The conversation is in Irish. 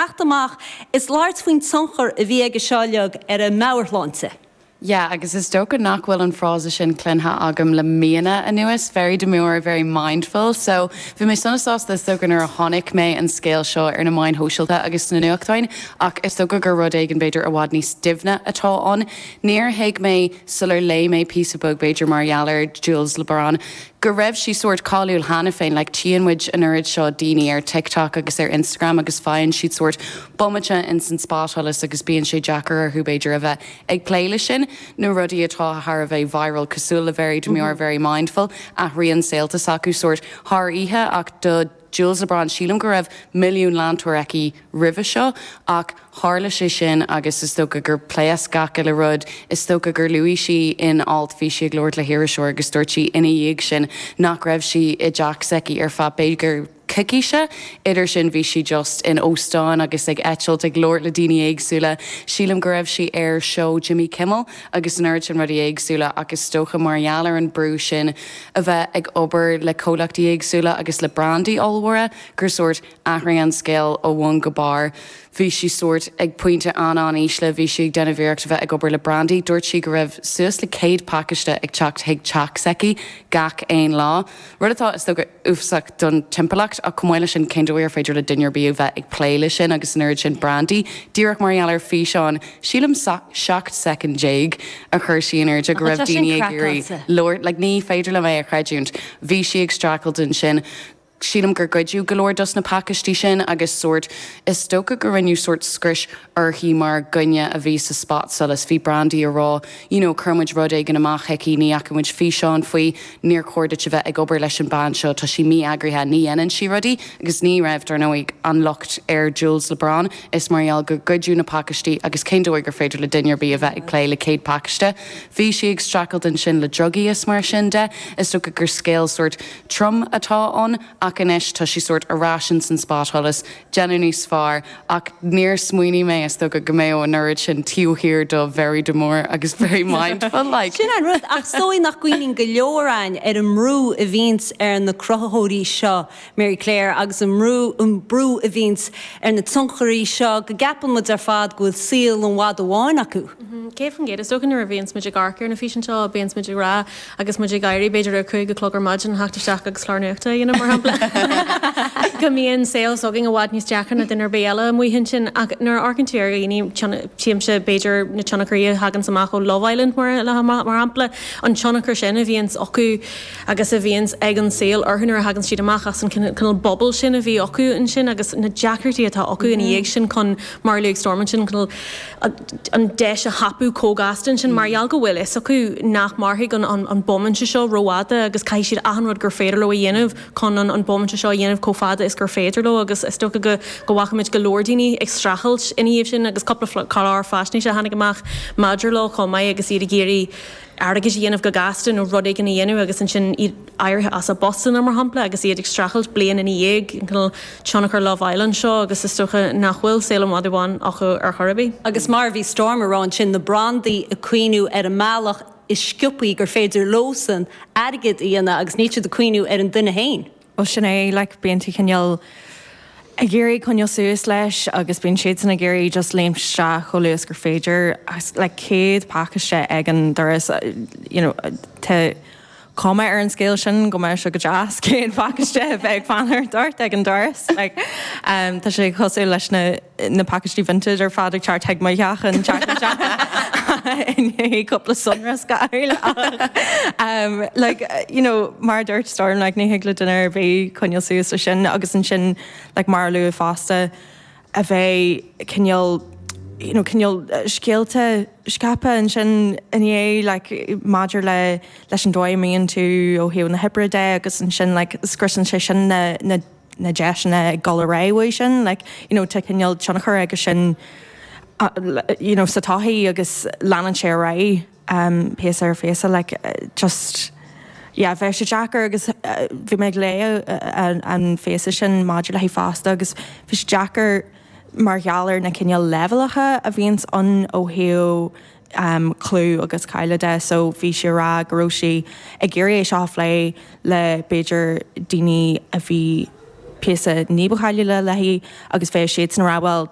Teacht amach is labhairt faoin tionchar a bhí aige seo uilig ar a meabhairshláinte. Yeah, agus is dócha nach bhfuil an frása sin cluinte agam le míonna anuas, very demure, very mindful. So, bhí mé sona sásta is dócha nuair a chonaic mé an scéal seo ar na meáin shóisialta agus sna nuachtáin, ach is dócha gur rud éigin b'fhéidir i bhfad níos doimhne atá ann. Níor thuig mé sular léigh mé píosa beag b'fhéidir mar gheall ar Jools LeBron, go raibh sí sórt cáiliúil cheana féin, like tchíonn muid an oiread seo daoine ar TikTok agus ar Instagram agus faigheann siad sórt bomaite ins an spotsholas agus bíonn sé deacair orthu b'fhéidir a bheith ag plé le sin, na rudaí atá thar a bheith viral cosúil le Very Demure, Very Mindful, athraíonn saolta s'acu sórt thar oíche ach do Jools LeBron sílim go raibh milliún leantóir aici roimhe seo ach tharla sé sin agus is dócha gur phléasc gach uile rud. Is dócha gur luaigh sí in alt, bhí sí ag labhairt le hiriseoir agus dúirt sí ina dhiaidh sin nach raibh sí i dteach s'aici ar feadh b'fhéidir coicíse. Idir sin bhí sí just in óstáin agus ag eitilt ag labhairt le daoine éagsúla. Sílim go raibh sí ar seó Jimmy Kimmel agus an oiread sin rudaí éagsúla ach is dócha mar gheall ar an brú sin a bheith ag obair le comhlachtaí éagsúla agus le brandaí ollmhóra gur sórt athraigh an scéal ó bhun go barr. Bhí sí sórt ag pointe an-an-ísle, bhí sí ag déanamh iarracht a bheith ag obair le brandaí. Dúirt sí go raibh suas le 100 pacáiste ag teacht chuig teach s'aici gach aon lá. Rud atá, is dócha, uafásach don timpeallacht ach chomh maith leis sin cén dóigh ar féidir le duine ar bith a bheith ag plé le sin agus an oiread sin brandaí díreach mar gheall ar físeán, sílim 17 soicind a chuir sí in airde go raibh daoine ag iarraidh labhairt, like ní féidir liom é a chreidiúint. Bhí sí ag streachailt ansin. Sílim gur goideadh go leor dos na pacáistí sin agus sórt, is dócha go rinneadh sórt scrios uirthi mar dhuine a bhí sa spotsolas. Bhí brandaí a rá, you know, chuir muid rud éigin amach chuici, ní fhaca muid físeán faoi, níor chóir duit a bheith ag obair leis an bean seo, tá sí mí-eagraithe, ní dhéanann sí rudaí. Agus ní raibh, dar ndóigh, an locht ar Jools LeBron, is mar gheall gur goideadh na pacáistí agus cén dóigh gur féidir le duine ar bith a bheith ag plé le 100 pacáiste? Bhí sí ag streachailt ansin le drugaí is mar sin de. Is dócha gur scéal sórt trom atá ann ach anois tá sí sórt ar ais ins an spotsholas, déanamh níos fearr ach níor smaoinigh mé is dócha go mbeadh an oiread sin taobh thiar do very demure agus very mindful like. Sin an rud, ach is dóigh nach gcuimhníonn go leor againn ar an mbrú a bhíonns ar na cruthaitheoirí seo Mary Claire, agus an mbrú, an brú a bhíonns ar na tionchairí seo, go gceapann muid ar fad go bhfuil saol an mhada bháin acu. 100%. Is dócha nuair a bhíonns muid ag amharc ar na físeáin seo, bíonns muid ag rá agus muid ag éirí b'fhéidir ar 5 a chlog ar maidin, theacht isteach agus clár nuachta a dhéanamh mar shampla, go mbíonn saol s'againn i bhfad níos deacra ná duine ar bith eile amuigh ansin. Ach nuair a amharcann tú ar dhaoine, tchímse b'fhéidir na tionchairí a thaganns amach ó Love Island mar shampla, an tionchar sin a bhíonns acu, agus a bhíonns ag an saol orthu nuair a thagann siad amach as an cineál bubble sin a bhí acu ansin agus na deacrachtaí atá acu ina dhiaidh sin chun, mar a luaigh Storm ansin, cineál an deis a thapú chomh gasta ansin mar gheall go bhfuil fhios acu nach mairfidh an bomaite seo rófhada agus caithfidh siad achan rud gur féidir leo a dhéanamh chun an bomaite seo a dhéanamh chomh fada is gur féidir leo agus is dócha go go bhfaca muid go leor daoine ag streachailt ina dhiaidh sin agus cúpla clár faisnéise a tháinig amach maidir leo chomh maith agus iad ag iarraidh airgead a dhéanamh go gasta nó rud éigin a dhéanamh agus ansin iad éirithe as a bpostanna, mar shampla, agus iad ag streachailt bliain ina dhiaidh, an cineál tionchar Love Island seo agus is dócha nach bhfuil saol an mhadaidh bháin acu ar chor ar bith. Agus mar a bhí Storm a rá ansin, na brandaí ag cuimhniú ar an mbealach is sciobthaí gur féidir leosan airgead a dhéanamh agus níl siad ag cuimhniú ar an duine féin. Bhuel sin é, like, bíonn tú cineál ag iarraidh coinneáil suas leis agus bíonn siadsan ag iarraidh just léimt isteach chomh luath is gur féidir agus like 100 pacáiste ag an doras, you know, tá cuma ar an scéal sin go mbeadh sé go deas 100 pacáiste a bheith ag fanacht ort ag an doras, like, um, tá sé cosúil leis na na pacáistí Vinted ar fad ag teacht chuig mo theach an tseachtain seo i ndiaidh cúpla sonrasc a fháil ach like you know mar a dúirt Storm like ní thig le duine ar bith coinneáil suas leis sin agus ansin like mar a luadh fosta a bheith cineál you know cineál scéalta scaipthe ansin i ndiaidh like maidir le leis an dóigh a mbíonn tú ó thaobh na hoibre de agus ansin like scriosann sé sin na na na deiseanna ag dul ar aghaidh uaidh sin, like, you know, tá cineál tionchar aige sin, you know, sa tsochaí agus leanann sé ar aghaidh um, píosa ar phíosa, like, just, yeah, bheadh sé deacair agus bhí mé ag léamh an phíosa sin maidir léi fosta agus bhí sé deacair mar gheall ar na cineál leibhéalacha a bhíonns ann ó thaobh um, clú agus cáile de so bhí sí ag rá go raibh sí ag iarraidh é seo a phlé le b'fhéidir daoine a bhí. píosa ní ba cháiliúla léi agus bheadh siadsan ag rá bhuel.